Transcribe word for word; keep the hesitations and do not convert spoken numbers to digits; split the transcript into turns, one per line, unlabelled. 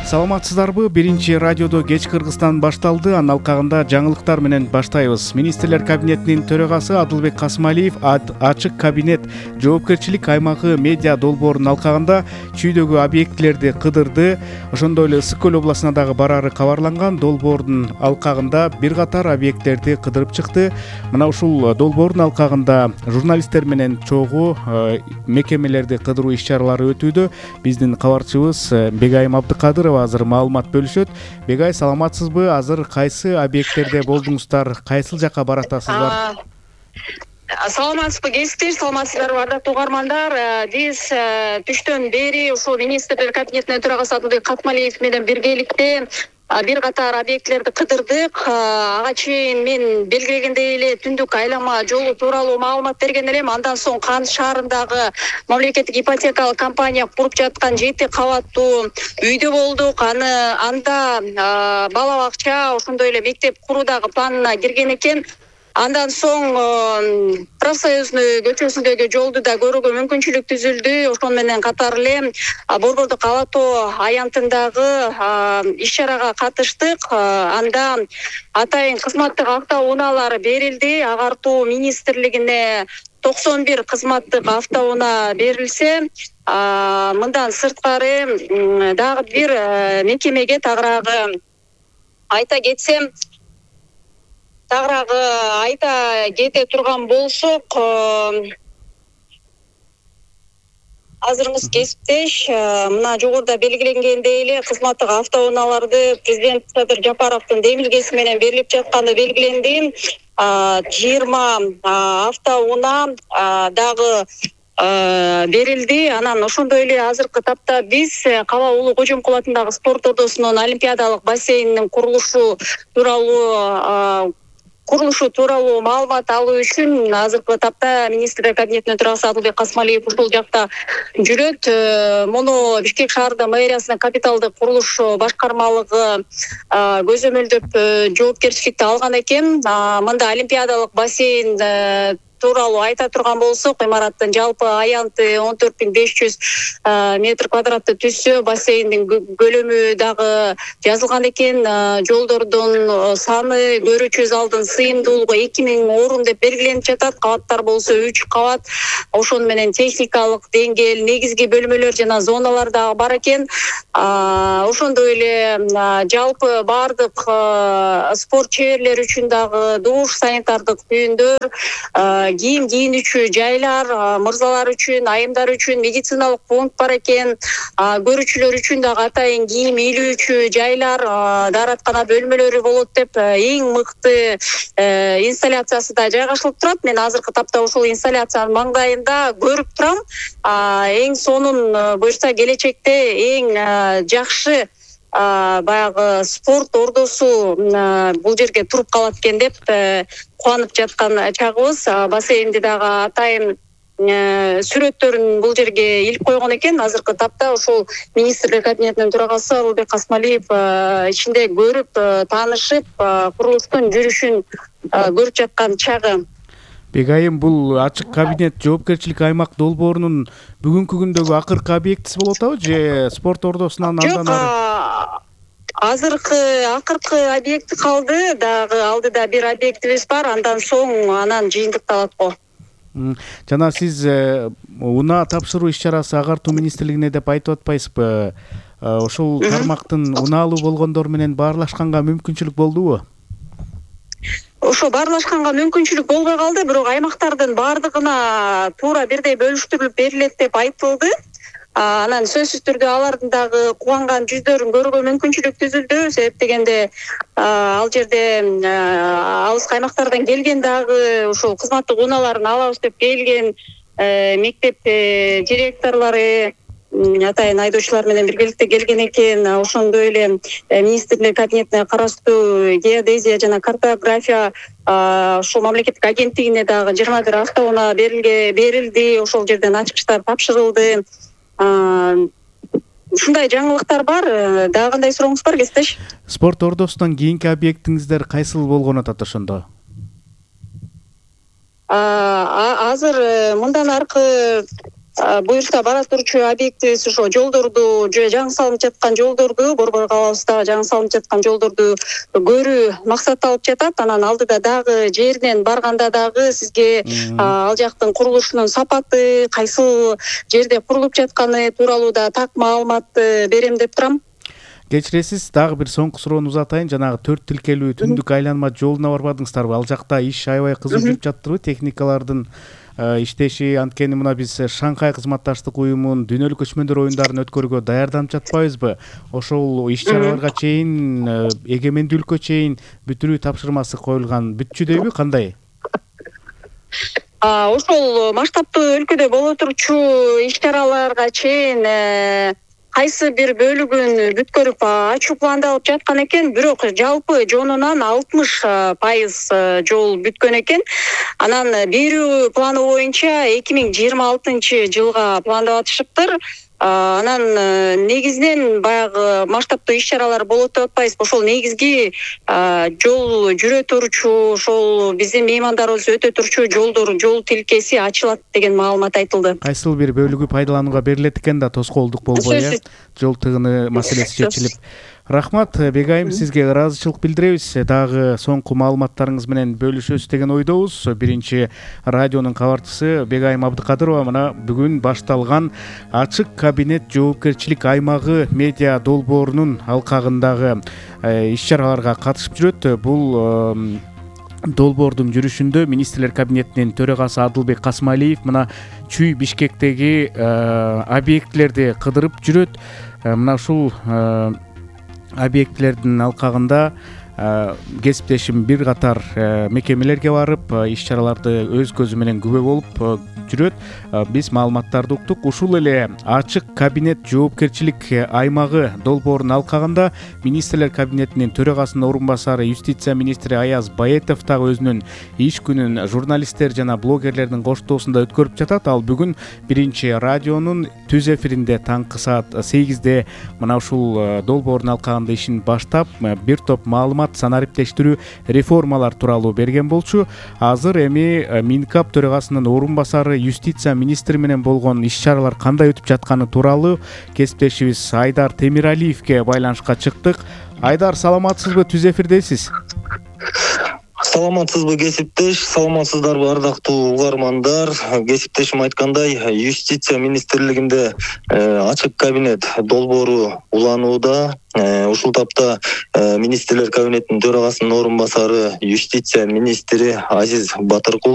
Саламатсыздарбы? Биринчи радиодо кеч Кыргызстан башталды. Анын алкагында жаңылыктар менен баштайбыз. Министрлер кабинетинин төрагасы Адылбек Касымалиев ачык кабинет жоопкерчилик аймагы медиа долбоорунун алкагында чүйдөгү объектилерди кыдырды. Ошондой эле Ысык көл областына дагы барары кабарланган. Долбоордун алкагында бир катар объектилерди кыдырып чыкты. Мына ушул долбоордун алкагында журналисттер менен чогуу мекемелерди кыдыруу иш-чаралары өтүүдө. Биздин кабарчыбыз Бегайым Абдыкадырова азыр маалымат бөлүшөт. Бегай, саламатсызбы? Азыр кайсы объекттерде болдуңуздар? Кайсыл жака баратасыздар?
Саламатсызбы кесиптеш, саламатсыздарбы ардактуу угармандар. Биз түштөн бери ушул министрлер кабинетинин төрагасы Адылбек Касымалиев менен биргеликте бир катар объектилерди кыдырдык. Ага чейин мен белгилегендей эле түндүк айлама жолу тууралуу маалымат берген элем. Андан соң Кан шаарындагы мамлекеттик ипотекалык компания куруп жаткан жети кабаттуу үйдө болдук. Аны анда бала бакча, ошондой эле мектеп куруудагы планына кирген экен. Андан соң Профсоюзный көчөсүндөгү жолду да көрүүгө мүмкүнчүлүк түзүлдү. Ошон менен катар эле Борбордук ала тоо аянтындагы иш-чарага катыштык. Анда атайын кызматтык автоунаалар берилди. Агартуу министрлигине токсон бир кызматтык автоунаа берилсе, мындан сырткары дагы бир мекемеге тагыраагы айта кетсем, Тагыраагы айта кете турган болсок, азырыңыз кесиптеш, мына жогоруда белгиленгендей эле кызматтык автоунааларды президент Садыр Жапаровдун демилгеси менен берилип жатканы белгиленди. жыйырма автоунаа дагы берилди. Анан ошондой эле азыркы тапта биз Кала Улуу Кожомкул атындагы спорт ордосунун олимпиадалык бассейнинин курулушу тууралуу курулушу тууралуу маалымат алуу үчүн азыркы тапта министрлер кабинетинин төрагасы Адылбек Касымалиев ушул жакта жүрөт. Муну Бишкек шаарында мэриясынын капиталдык курулуш башкармалыгы көзөмөлдөп жоопкерчиликти алган экен. Мында олимпиадалык бассейн тууралуу айта турган болсок, имараттын жалпы аянты он төрт миң беш жүз метр квадраттуу түзсө, бассейндин көлөмү дагы жазылган экен. Жолдордун саны, көрүүчү залдын сыйымдуулугу эки миң орун деп белгиленип жатат. Кабаттар болсо үч кабат. Ошону менен техникалык деңгээл, негизги бөлмөлөр жана зоналар дагы бар экен. Ошондой эле жалпы баардык спорт чеберлери үчүн дагы душ, санитардык түйүндөр, кийим кийинүүчү жайлар, мырзалар үчүн, айымдар үчүн медициналык пункт бар экен. Көрүүчүлөр үчүн дагы атайын кийим илүүчү жайлар, даараткана бөлмөлөрү болот деп эң мыкты инсталляциясы да жайгашылып турат. Мен азыркы тапта ушул инсталляциянын маңдайында көрүп турам. Эң сонун буюрса келечекте эң жакшы баягы спорт ордосу бул жерге туруп калат экен деп кубанып жаткан чагыбыз. Бассейнди дагы атайын сүрөттөрүн бул жерге илип койгон экен. Азыркы тапта ушул министрлер кабинетинин төрагасы Адылбек Касымалиев ичинде көрүп, таанышып, курулуштун жүрүшүн көрүп жаткан чагы.
Бегайым, бул ачык кабинет жоопкерчилик аймак долбоорунун бүгүнкү күндөгү акыркы объектиси болуп атабы, же спорт ордосунан андан ары?
Азыркы акыркы объекти калды, дагы алдыда бир объектибиз бар. Андан соң анан жыйынтыкталат го.
Жана сиз унаа тапшыруу иш-чарасы агартуу министрлигине деп айтып атпайсызбы? Ошол тармактын унаалуу болгондор менен баарлашканга мүмкүнчүлүк болдубу?
Ошо баарлашканга мүмкүнчүлүк болбой калды, бирок аймактардын баардыгына туура бирдей бөлүштүрүлүп берилет деп айтылды. Анан сөзсүз түрдө алардын дагы кубанган жүздөрүн көрүүгө мүмкүнчүлүк түзүлдү. Себеп дегенде ал жерде алыскы аймактардан келген дагы ушул кызматтык унааларын алабыз деп келген мектеп директорлору, атайын айдоочулар менен биргеликте келген экен. Ошондой эле министрлер кабинетине караштуу геодезия жана картография ушул мамлекеттик агенттигине дагы жыйырма бир автоунаа берилди. Ошол жерден ачкычтар тапшырылды. Ушундай жаңылыктар бар. Дагы кандай сурооңуз бар, кесиптеш?
Спорт ордосунан кийинки объектиңиздер кайсыл болгон атат ошондо?
Азыр мындан аркы буюрса бара турчу объектибиз ошо жолдорду жаңы салынып жаткан жолдорду Борбор калабызда жаңы салынып жаткан жолдорду көрүү максат алып жатат. Анан алдыда дагы жеринен барганда дагы сизге ал жактын курулушунун сапаты, кайсыл жерде курулуп жатканы тууралуу да так маалыматты берем деп турам.
Кечиресиз, дагы бир соңку суроону узатайын. Жанагы төрт тилкелүү түндүк айланма жолуна барбадыңыздарбы? Ал жакта иш аябай кызуу жүрүп жатырбы? Техникалардын иштеши, анткени мына биз Шанхай кызматташтык уюмунун дүйнөлүк көчмөндөр оюндарын өткөрүүгө даярданып жатпайбызбы? Ошол иш-чараларга чейин, эгемендүүлүккө чейин бүтүрүү тапшырмасы коюлган, бүтчүдөйбү, кандай?
Ошол масштабтуу өлкөдө боло турчу иш-чараларга чейин кайсы бир бөлүгүн бүткөрүп ачуу пландалып жаткан экен, бирок жалпы жонунан алтымыш пайыз жол бүткөн экен. Анан берүү планы боюнча эки миң жыйырма алтынчы жылга пландап атышыптыр. Анан негизинен баягы масштабтуу иш-чаралар болот деп атпайбызбы, ошол негизги жол жүрө турчу, ошол биздин меймандарыбыз өтө турчу жолдор, жол тилкеси ачылат деген маалымат айтылды.
Кайсыл бир бөлүгү пайдаланууга берилет экен да, тоскоолдук болбой, э? Жол тыгыны маселеси чечилип. Рахмат, Бегайым, сизге ыраазычылык билдиребиз. Дагы соңку маалыматтарыңыз менен бөлүшөсүз деген ойдобуз. Биринчи радионун кабарчысы Бегайым Абдыкадырова мына бүгүн башталган ачык кабинет жоопкерчилик аймагы медиа долбоорунун алкагындагы иш-чараларга катышып жүрөт. Бул долбоордун жүрүшүндө министрлер кабинетинин төрагасы Адылбек Касмалиев мына Чүй Бишкектеги объектилерди кыдырып жүрөт. Мына ушул объектилердин алкагында кесиптешим бир катар мекемелерге барып, иш-чараларды өз көзү менен күбө болуп жүрөт. Биз маалыматтарды уктук. Ушул эле ачык кабинет жоопкерчилик аймагы долбоорунун алкагында министрлер кабинетинин төрагасынын орун басары юстиция министри Аяз Баетов дагы өзүнүн иш күнүн журналисттер жана блогерлердин коштоосунда өткөрүп жатат. Ал бүгүн биринчи радионун түз эфиринде таңкы саат сегизде мына ушул долбоордун алкагында ишин баштап, бир топ маалымат санариптештирүү реформалар тууралуу берген болчу. Азыр эми Минкап төрагасынын орун басары юстиция министри менен болгон иш-чаралар кандай өтүп жатканы тууралуу кесиптешибиз Айдар Темиралиевке байланышка чыктык. Айдар, саламатсызбы? Түз эфирдесиз.
Саламатсызбы кесиптеш, саламатсыздарбы ардактуу угармандар. Кесиптешим айткандай, юстиция министрлигинде ачык кабинет долбоору уланууда. Ушул тапта министрлер кабинетинин төрагасынын орун басары юстиция министри Азиз Батыркулов